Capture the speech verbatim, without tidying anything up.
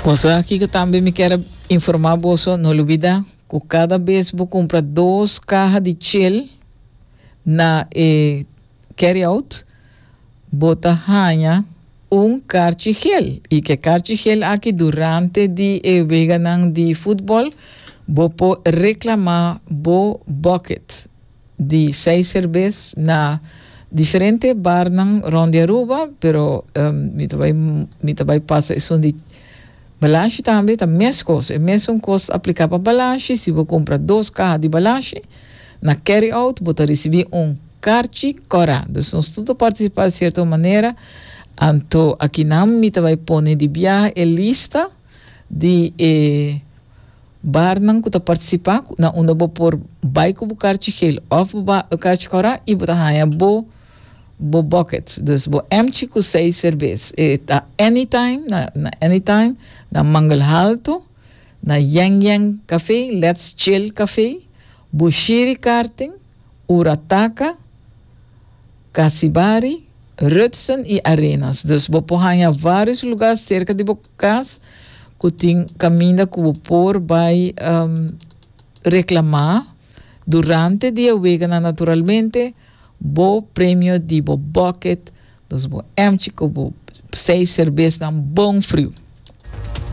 Cosa aki ku tambe mi kier informá boso, no lubidá ku kada bes bo kumpra dos kaha di Chill na eh, carry out, bo ta haña un karchi gel. I ku e karchi gel aki durante di e weganan di futbòl, bo por reklamá bo bucket di seis serbes na diferente barnan rònt di Aruba, pero um, mi ta bai mi ta bai pasa esun di Balashi tambe, ta mesun kos, e mesun kos apliká pa Balashi. Si bo kumpra dos kaha di Balashi na carry out, bo ta risibí un karchi kòrá. Dus nos tur partisipá di sierto manera. Anto akinan mi ta bai pone di biaha e lista di eh, barnan ku ta partisipá na unda bo por bai ku bo karchi gel òf bo karchi kòrá i bo ta haña bo bo bucket. Dus bo empty ku seis serbes. E ta Anytime, na, na Anytime, na Mangel Halto, na Yang Yang Café, Let's Chill Café, Bushiri Karting, Urataka, Casibari, Rutsen i Arenas. Dus bo por haña vários lugá serka di bo kas ku tin kaminda ku bo por bai um, reklamá durante di e wega naturalmente bo premio di bo bucket, dus bo empty ku bo seis serbes nan bon friu.